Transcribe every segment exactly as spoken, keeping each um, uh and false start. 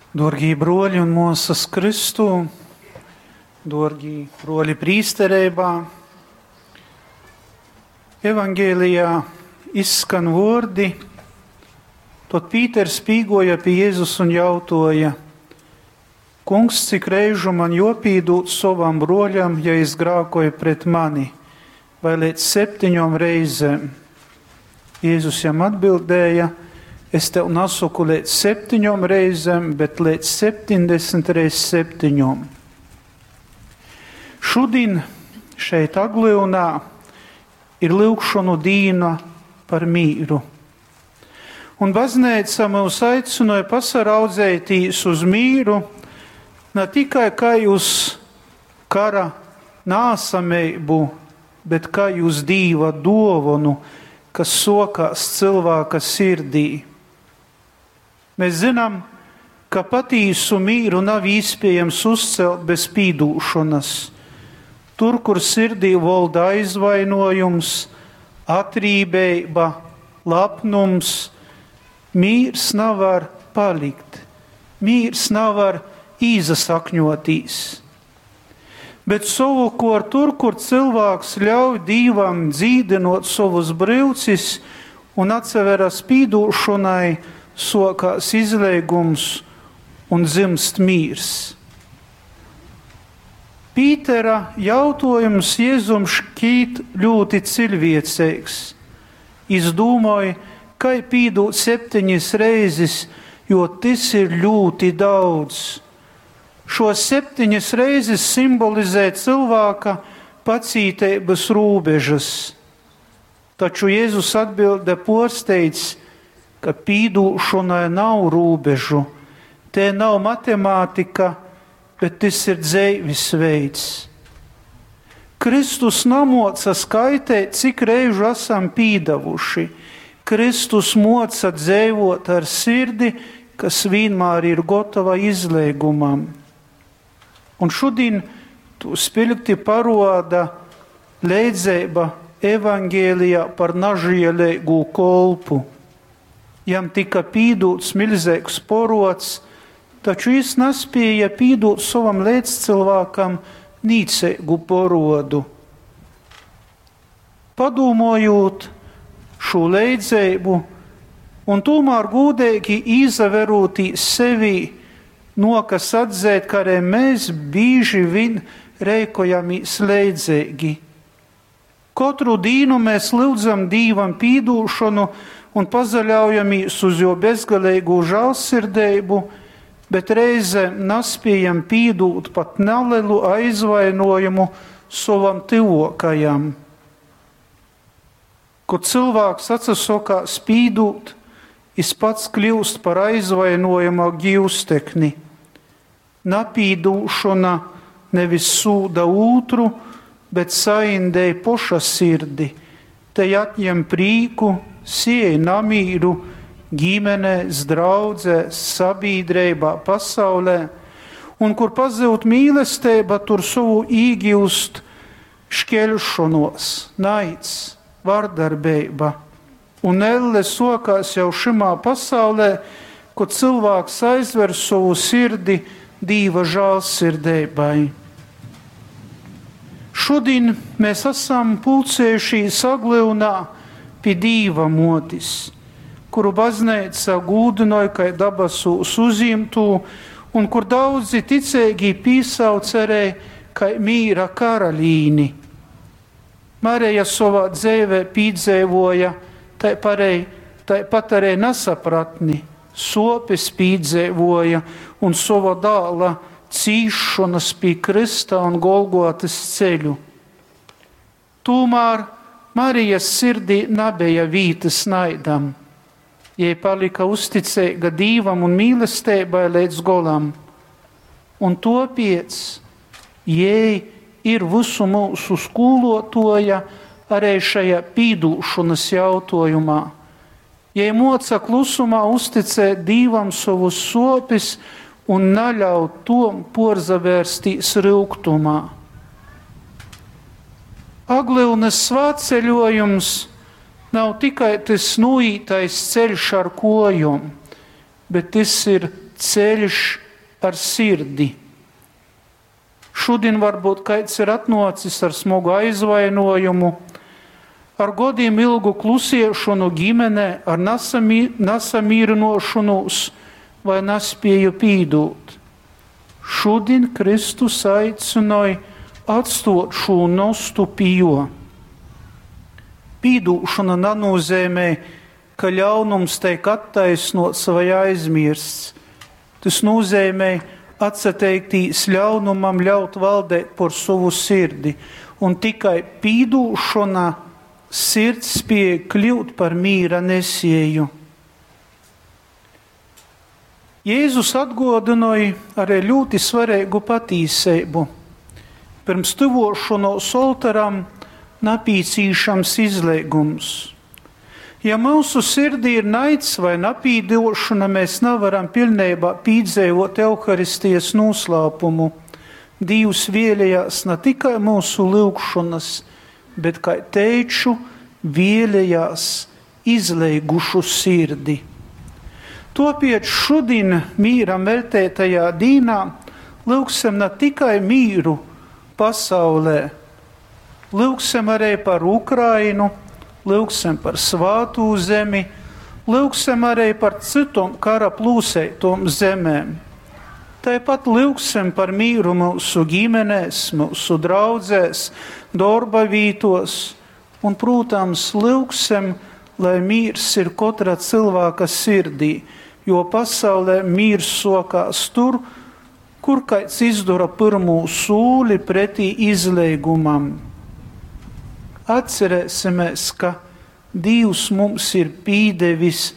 Dōrgī bruoļi un muosys Kristū, duorgī bruoļi prīstereibā, Evangelijā izskan vuordi: Tod Pīters pīguoja pi Jezus un jautuoja: Kungs, cik reižu man juopīdūd sovam bruoļam, ja jis grākoj pret mani? Vai leidz septiņom reizem? Jezus jam atbildēja: Es tev nasoku leidz septiņom reizem, bet leidz septiņdesmit reiz septiņom. Šudin šeit Aglyunā ir lyugšonu dīna par mīru. Un bazneica myus aicynoj pasaraudzeitīs uz mīru ne tikai kai uz kara nāsameibu, bet kai uz Dīva duovonu, kas sokās cylvāka sirdī. Mēs zinām, ka patīsu mīru nav īspiejams uzcelt bez pīdūšonas. Tur, kur sirdī volda aizvainojums, atrībeiba, lapnums, mīrs navar palikt, mīrs navar īsasakņotīs. Bet sovukuort tur, kur cylvāks ļauj Dīvam dzīdynot sovus bryucis un atsaveras pīdūšonai, suokās izleigums un dzymst mīrs. Pītera jautuojums Jezum škīt ļūti ciļvieceigs. Jis dūmoj, kai pīdūt septeņis reizis, jo tys ir ļūti daudz. Šuos septeņis reizis simbolizē cylvāka pacīteibys rūbežys. Taču Jezus atbilde puorsteidz, ka pīdūšonai nav rūbežu. Te nav matemātika, bet tys ir dzeivis veids. Kristus namuoca skaiteit, cik reižu asam pīdavuši. Kristus muoca dzeivuot ar sirdi, kas vīnmār ir gotova izleigumam. Un šudin tū spiļgti paruoda leidzeiba Evangelijā par nažieleigū kolpu. Jam tika pīdūts miļzeigs poruods, taču jis naspieja pīdūt sovam leidzcylvākam nīceigu poruodu. Padūmojūt šū leidzeibu un tūmār gūdeigi īsaverūtīs sevī, nuokas atzeit, ka arī mēs bīži viņ reikojamīs leidzeigi. Kotru dīnu mēs lyudzam Dīvam pīdūšonu un pasaļaujamīs uz juo bezgaleigū žālsirdeibu, bet reizem naspiejam pīdūt pat nalelu aizvainuojumu sovam tyvuokajam. Kod cylvāks atsasokās pīdūt, jis pats kliust par aizvainuojuma giustekni. Napīdūšona nevis sūda ūtru, bet saindej poša sirdi, tei atņem prīku, siej namīru gimenēs, draudzēs, sabīdreibā, pasaulē, un kur pazyud mīlesteiba, tur sovu īgiust škeļšonuos, naids, vardarbeiba. Un elle suokās jau šymā pasaulē, kod cylvāks aizver sovu sirdi Dīva žālsirdeibai. Šudin mēs asam pulcējušīs Aglyunā pi Dīva muotis, kuru bazneica gūdynoj kai dabasūs uzjimtū un kur daudzi ticeigī pīsauc arī kai mīra karalīni. Mareja sovā dzeivē pīdzeivuoja taiparei, taipat arī nasapratni, suopis pīdzeivuoja un sova dāla cīsšonys pi krysta un Golgotys ceļu. Tūmār Marijas sirdī nabeja vītys naidam. Jei palika uzticeiga Dīvam un mīlesteibai leidz golam. Un tuopiec jei ir vysu myusu skūluotuoja arī šajā pīdūšonys jautuojumā. Jei muoca klusumā uzticēt Dīvam sovus suopis un naļaut tom puorzavērstīs ryugtumā. Aglyunys svātceļuojums nav tikai tys nūītais ceļš ar kuojom, bet tys ir ceļš ar sirdi. Šodien varbūt kāds ir atnācis ar smagu aizvainojumu, ar godiem ilgu klusiešanu ģimenē, ar nasamī, nasamīrinošanos vai nespēju pīdūt. Šodien Kristus aicināja atstot šo nostu pijo. Pīdūšana nenozīmē, ka ļaunums tiek attaisnots vai aizmirsts. Tas nozīmē atsateikties ļaunumam, ļaut valdēt par savu sirdi. Un tikai pīdūšana sirds spēja kļūt par mīra nesēju. Jēzus atgodināja arī ļoti svarīgu patīsību. Pirms tuvošanos oltaram napīcīšams izliegums. Ja mūsu sirdī ir naids vai napīdošana, mēs nevaram pilnībā pīdzīvot Euharistijas noslēpumu. Dievs vēlējās ne tikai mūsu lūgšanas, bet, kā teiču, vēlējās izleigušu sirdi. Topiet šodien mīram veltētajā dīnā lūgsim ne tikai mīru pasaulē, lūgsim arī par Ukrainu, lūgsim par svātū zemi, lūgsim arī par citom kara plūsētom zemēm. Tāpat lūgsim par mīru mūsu ģimenēs, mūsu draudzēs, darba vītos un, protams, lūgsim, lai mīrs ir katra cilvēka sirdī, jo pasaulē mīrs sokās tur, kur kāds izdara pirmo sūli pretī izleigumam. Atcerēsimies, ka Dievs mums ir pīdevis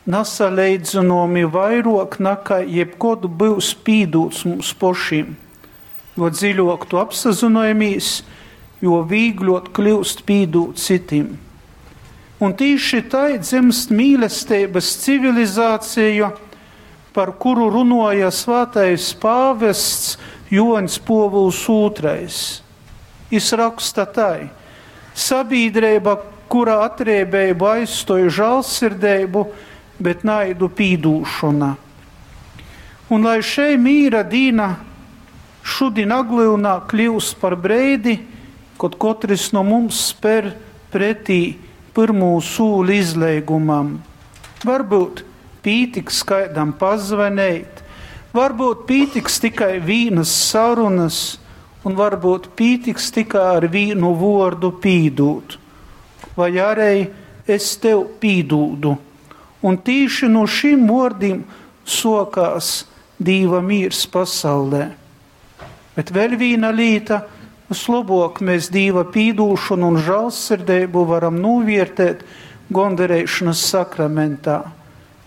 nasalīdzinomi vairāk nekā jebkod būs pīdūts mums pašiem. Jo dziļāk tu apsazinājamies, jo vīgļot kļūst pīdūt citim. Un tīši tai dzimst mīlestības civilizācija, par kuru runāja svētais pāvests Joņs Povuls Ūtrais. Jis raksta tai: sabiedrība, kurā atriebību aizstoja žēlsirdību, bet naidu pīdūšana. Un lai šei mīra dīna šodien Aglyunā kļūst par breidi, kad katrs no mums spēr pretī pirmo sūli izleigumam. Varbūt pītiks kādam pazvanīt, varbūt pītiks tikai vīnas sarunas, un varbūt pītiks tikai ar vīnu vordu pīdūt. Vai arī es tev pīdūdu. Un tīši no šim vārdiem sokās Dīva mīrs pasaulē. Bet vēl viena līta, vislabāk mēs Dīva pīdūšanu un žēlsirdību varam novērtēt gondarēšanas sakramentā.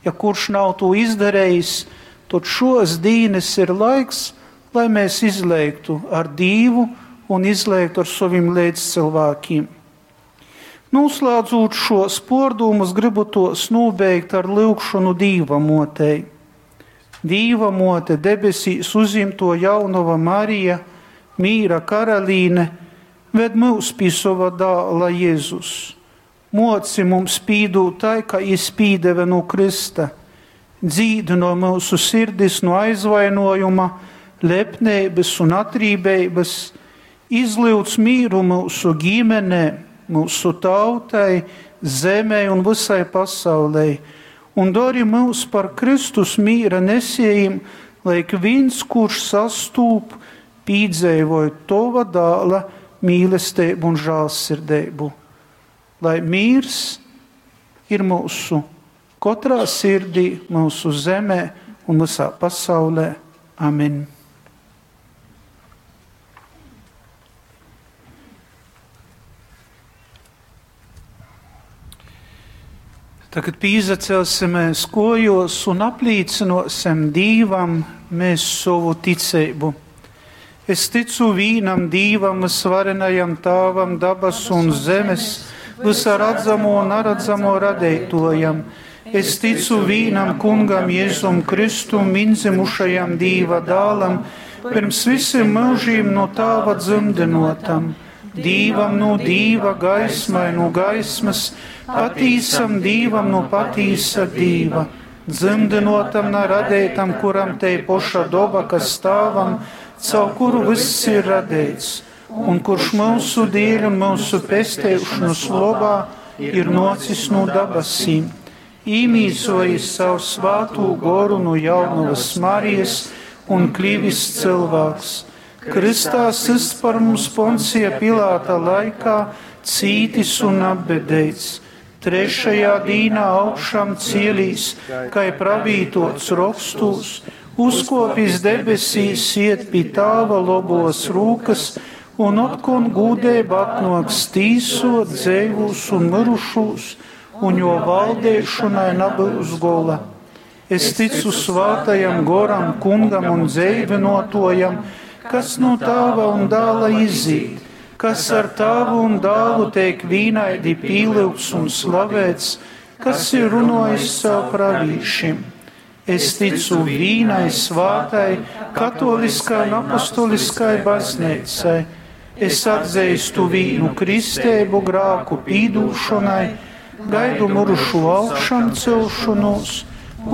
Ja kurš nav to izdarījis, tad šos dīnes ir laiks, lai mēs izlēktu ar Dīvu un izlēktu ar saviem līdzcilvēkiem. Noslēdzot šos pordumus, gribu tos nobeigt ar lūgšanu Dīva motei. Dīva mote, debesīs uzimto jaunava Marija, mīra karalīne, ved mūs pie sava dāla Jēzus. Moci mums pīdūt tai, ka jis pīdeve no Krista, dzīdu no mūsu sirdis no aizvainojuma, lepnības un atrībības, izlūdz mīru mūsu ģimenē, mūsu tautai, zemē un visai pasaulē, un dari mūs par Kristus mīra nesējiem, lai ik viens, kurš sastūp, pīdzēvoja tova dāla mīlestību un žēlsirdību. Lai mīrs ir mūsu katrā sirdī, mūsu zemē un visā pasaulē. Amen. Tagad pīzacelsimies kojos un aplīcinosim Dīvam mēs savu ticību. Es ticu vīnam Dīvam, visvarenajam Tāvam, dabas un zemes, visā redzamo un neredzamo radētojam. Es ticu vīnam Kungam Jēzum Kristum, inzimušajam Dīva dālam, pirms visiem mūžiem no Tāva dzimdinotam, Dīvam no Dīva, gaismai no gaismas, patīsam Dīvam no patīsa Dīva, dzymdynuotam, na radeitam, kuram tei poša doba, kas Tāvam, caur kuru vyss ir radeits, un kurš myusu dieļ un myusu pesteišonys lobā ir nuocis nu dabasīm, īmīsojis caur Svātū Goru nu jaunovys Marijas un klivis cylvāks, krystā systs par mums Poncija Pilāta laikā, cītis un apbedeits, trešajā dīnā augšām cielīs, kai pravītots rokstūs, uzkopis debesīs, iet pi Tāva lobos rūkas, un otkon gūdeiba atnuoks tīsot dzeivūs un myrušūs, un juo valdeišonai nabyus gola. Es ticu Svātajam Goram, Kungam un dzeivynuotuojam, kas nu Tāva un Dāla izīt, kas ar Tāvu un Dālu teik vīnaidi pīlyugts un slavēts, kas ir runuojis caur pravīšim. Es ticu vīnai svātai, katoliskai un apostoliskai bazneicai. Es atzeistu vīnu kristeibu grāku pīdūšonai, gaidu myrušū augšamcelšonūs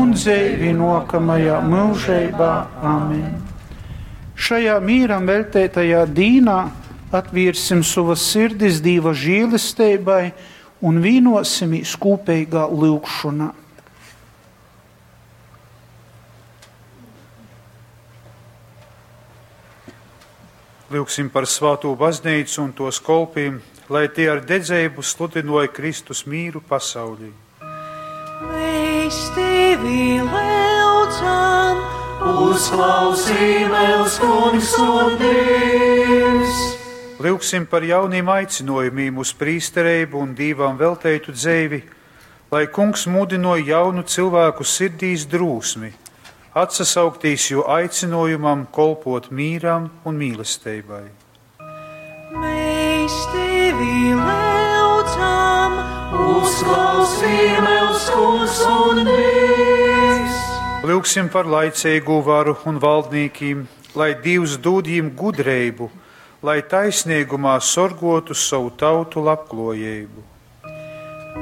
un dzeivi nuokamajā myužeibā. Amen. Šajā mīram veļteitajā dīnā atviersim sovas sirdis Dīva žielesteibai un vīnuosimīs kūpeigā lyugšonā. Lyugsim par svātū baznīcu un tos kolpiem, lai tie ar dedzeibu sludinoja Kristus mīru pasaulī. Mēs tevi lyudzam, Uzklausī mūs, Kungs un Dievs! Lyugsim par jauniem aicinojumiem uz prīstereibu un Dīvam velteitu dzeivi, lai Kungs mudinoja jaunu cilvēku sirdīs drūsmi, atsasauktīs jo aicinojumam kolpot mīram un mīlestībai. Mēs tevi lyudzam, Uzklausī mūs, Kungs un Dievs! Lyugsim par laicīgo varu un valdnīkiem, lai Dievs dod jiem gudrību, lai taisnīgumā sorgotu savu tautu labklājību.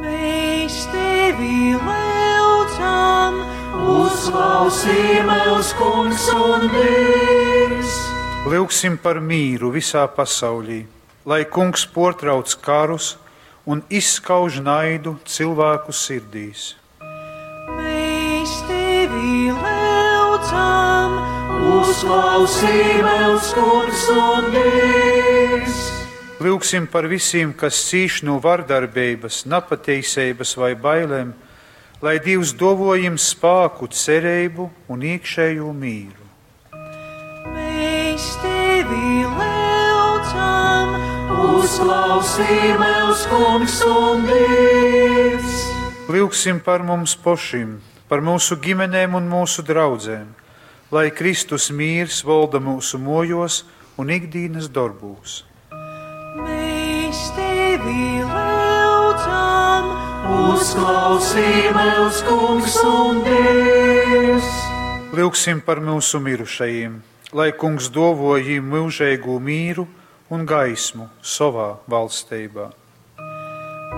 Mēs tevi lyudzam, Uzklausī mūs, Kungs un Dievs! Lyugsim par mīru visā pasaulī, lai Kungs portrauc karus un izskauž naidu cilvēku sirdīs. Mēs tevi lyudzam, Uzklausī mūs, Kungs un Dievs! Lyugsim par visiem, kas cīš no vardarbības, napateiseibas vai bailēm, lai Dievs dovo jiem spāku, cerību un iekšējo mīru. Mēs tevi lyudzam, Uzklausī mūs, Kungs un Dievs! Lyugsim par mums pašiem, par mūsu ģimenēm un mūsu draudzēm, lai Kristus mīrs valda mūsu mojos un ikdienas darbūs. Mēs tevi lyudzam, Uzklausī mūs, Kungs un Dievs! Lyugsim par mūsu mirušajiem, lai Kungs dovo jiem mūžīgu mīru un gaismu savā valstībā.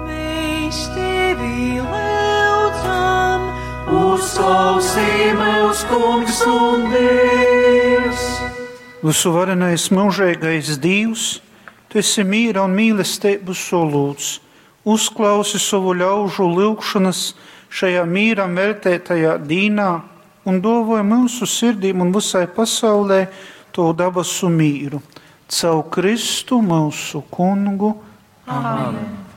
Mēs tevi lyudzam, Uzklausī mūs, Kungs un Dievs! Visuvarenais mūžīgais Dievs, tu esi mīra un mīlestības solūts. Uzklausi savu ļaužu lyugšanas šajā mīram veltētajā dīnā un dovoja mūsu sirdīm un visai pasaulē to dabasu mīru. Caur Kristu mūsu kungu. Amen. Amen.